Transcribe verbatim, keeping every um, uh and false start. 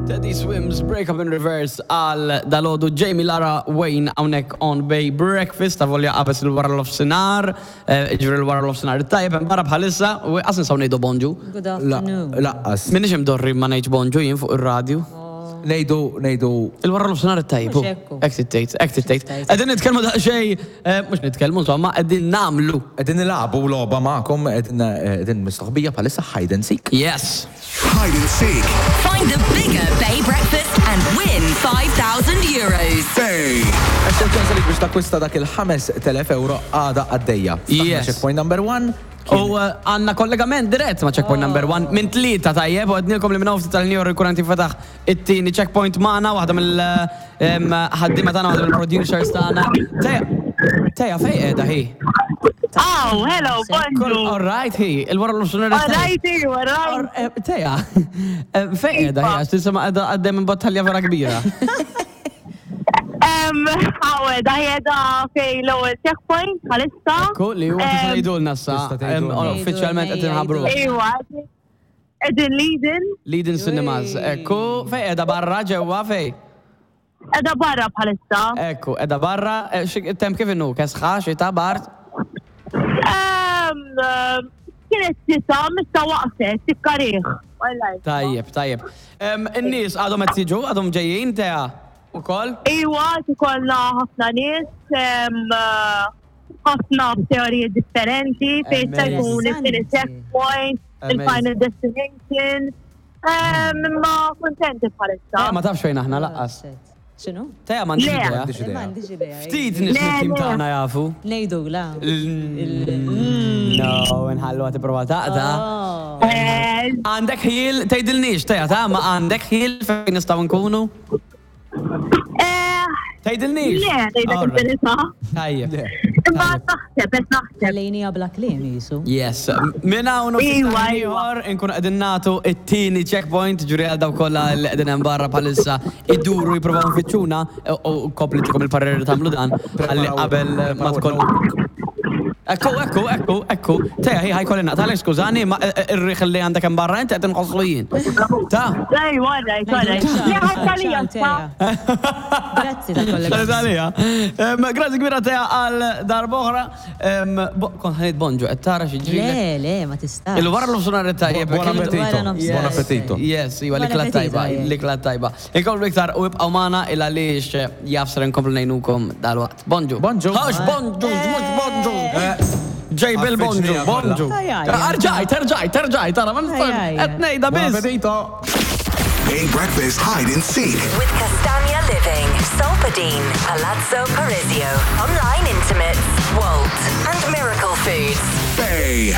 Teddy Swims, Break Up in Reverse għal dalgħodu Jamie Lara Wayne hawnhekk on Bay Breakfast, ta' volja qabes il-wara nofsinhar, ġifieri l-wara nofsinhar tajjeb hemm barra bħalissa, u qas nistgħu ngħidu bonġu. Good afternoon. Lanqas. Minix imdorri ma ngħidx bonġu jien fuq ir-radju. Ngħidu, ngħidu. Il-wara nofsinhar tajjeb. Mhux hekk. Hekk tittejt, hekk tittejt. Qegħdin nitkellmu daqsxejn, eh, mhux nitkellmu insomma, qegħdin nagħmlu. Qegħdin nilagħbu logħba magħkom, qegħdin mistoħbija bħalissa hide and seek. Yes. Hide and seek. Find the bigger Bay Breakfast and win five thousand euros. Bay. Għax ċans li biex takkwista dak il-ħamest elef euro għada għaddejja. Ftaħna Yes. checkpoint number one. U eh, għandna kollegament dirett ma' checkpoint number one minn tlieta, tajjeb, u għednilkom li minn ftit tal-njor ikun għanti fetaħ it-tieni checkpoint magħna, waħda mill-ħaddiema tagħna, waħda mill-producers tagħna. Teja, Teja, fej qiegħda hi? Oh, hello, bonġu. All right, hi, il-wara l-nofsinhar. All right, all right. Eh, Teja, eh, fej qiegħda hi, għax tisma' qiegħda għaddej minn battalja vera kbira. Um, għawe, da jeda fej l-ewwel checkpoint, bħalissa. Ekku, li huwa tista' Em, tgħidulna sa, Tista' tgħidulna. em, uffiċjalment qed inħabbru. Iwa, qegħdin Leading. Leading Cinemas. Ekku, fej qiegħda, barra, ġewwa, fej? Qiegħda barra bħalissa. Ekku, qiegħda barra, eh, xi- temp kif inhu, kesħa, xita, bard? Um, kienet xita, issa waqfet, tikkarih. Tajjeb, tajjeb. Em, In-nies għadhom qed jiġu, għadhom ġejjin, Teja? Ukoll? Iwa, ikollna ħafna nies, em, ħafna teoriji differenti, fejn se jkun it-tieni checkpoint, il-final destination. Em, Imma kontenti bħalissa. Teja ma tafx fejn aħna lanqas. X'inhu? Teja m'għandix Le. idea. M'għandix idea. M'għandix idea. Ftit nies Le, mit-tim le. tagħna jafu. Ngħidu la. No, nħallu għati prova taqta. Oh. Eh, Għandek ħil, tgħidilniex, Teja, ta' ma għandek ħil fejn nistgħu nkunu? eh, Tgħidilniex? Le, ngħidlek Alright. il-verità. Tajjeb. Imma naħseb, qed naħseb. Ħallejnija bla kliem jisu. Yes, minn hawn u ftit Iwa, ħin iwa. ieħor inkunu qegħdin nagħtu it-tieni checkpoint, ġuri għal dawk kollha li qegħdin hemm barra bħalissa iduru jippruvaw nfittxuna u koplitikom il-pareri tagħmlu dan ħalli qabel ma tkun. Ekku, ekku, ekku, ekku. Teja, hi ħa jkolli naqtagħlek, skużani, ma ir-riħ li għandek hemm barra inti qed inħosslu jien. Ta' Ejwa, right, right. Le, ħadd Ciao, Teja. Grazzi ta' kollega. Grazzi. Grazzi kbira, Teja, għal darb'oħra. Kont ħa ngħid bonġu, qed tara xi ġri. Le, le, ma tistax. Il-wara l-nofsinhar tajjeb. Buon appetito. Wara nofsinhar. Buon appetito. Yes, iwa, Buon l-ikla appetito, tajba, eh. l-ikla tajba. Inkomplu iktar u ibqgħu magħna il għaliex jaf ser nkomplu ngħinukom dalwaqt. Bonġu. Bonġu. Għax bonġu, mhux bonġu. Ġej bil-bonġu, Għaffiġnija kollha. bonġu. Aj, aj. Arġajt, erġajt, erġajt, tara, ma Aj, aj. qed ngħidha Buon biss. appetito. Bay Breakfast Hide and Seek. With Castagna Living, Solpadeine, Palazzo Parisio, Online Intimates, Walt, and Miracle Foods. Bay.